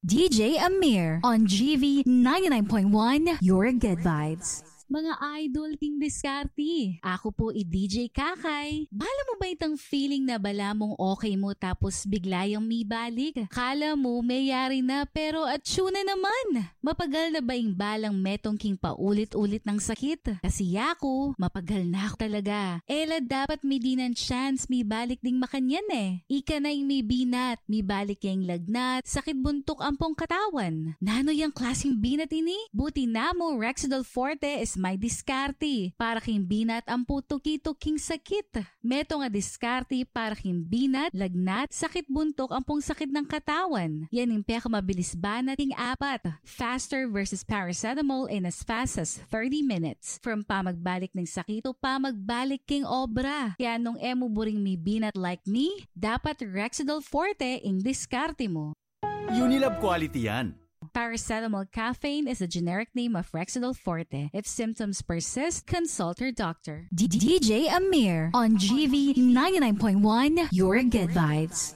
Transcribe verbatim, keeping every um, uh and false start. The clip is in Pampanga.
D J Amir on G V ninety-nine point one, Your Good Vibes. Mga idol king diskarte, aku pu i D J Kakay. Bala mu ba itang feeling na bala mung okay mu tapos bigla yang mibalik? Kala mu meyari na pero atsu na naman. Mapagal na ba ing balang metung king paulit-ulit nang sakit? Kasi yaku, mapagal na ku talaga. E la dapat midinan chance mibalik ding makanyan e. Ika na ing mibinat, mibalik ya ing lagnat, sakit buntuk ampong katawan. Nanu yang klasing binat ini? Buti namu Rexidol Forte is may diskarte para king binat ampo tuki-tuking sakit. Metung a diskarte para king binat, lagnat, sakit buntuk ampong sakit nang katawan. Yan ing pekamabilis banat king apat. Faster versus paracetamol in as fast as thirty minutes. From pamagbalik ning sakit to pamagbalik king obra. Kaya nung e mu buring mibinat like me, dapat Rexidol Forte ing diskarte mu. Unilab quality yan. Paracetamol caffeine is a generic name of Rexidol Forte. If symptoms persist, consult your doctor. D J Amir on G V ninety-nine point one, Your Good Vibes.